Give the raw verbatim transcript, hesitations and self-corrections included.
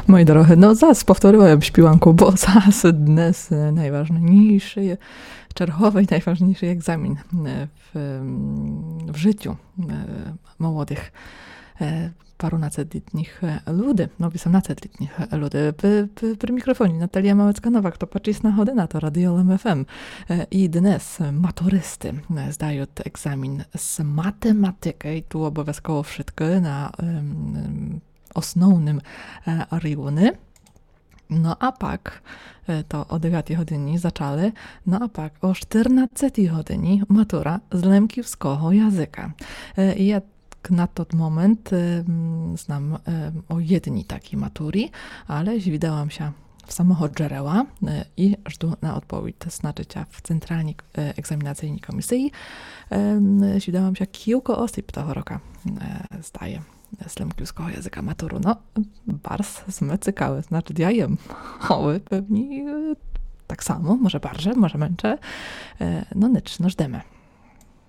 Мої дорогы, но зас повторила єм шпіванку, бо зас днес, е, найважнійшый, черговый найважнійшый екзамін, е, в, м, в жытю, е, молодых, е, парунацетлітніх, е, люди, но, вісемнацетлітніх, е, люди. При, при, при мікрофоні Наталія Малецька-Новак, то пачисна година, то Радіо Лем Еф Ем. Е, і днес матуристы, е, здают екзамін з математикы, і ту обовязково вшыткы на, ем, ем, основным, е, рівни. Но а пак, е, то о девятій годині зачали, но а пак о штырнадцятій годині матура з лемківского языка. Е, і я на тот момент, е, м, знам, е, о єдній такій матурі, але звідала єм ся в самого джерела, е, і жду на одповідь, значыт, в Централній, е, екзамінацийній комісиі. Е, м, звідала єм ся, кілько осіб того рока, е, здає з лемківского языка матуру. Но, барз сме цікавы, значыт, я єм. А вы певні, е, так само, може барже, може менше. Е, но нич, но ждеме.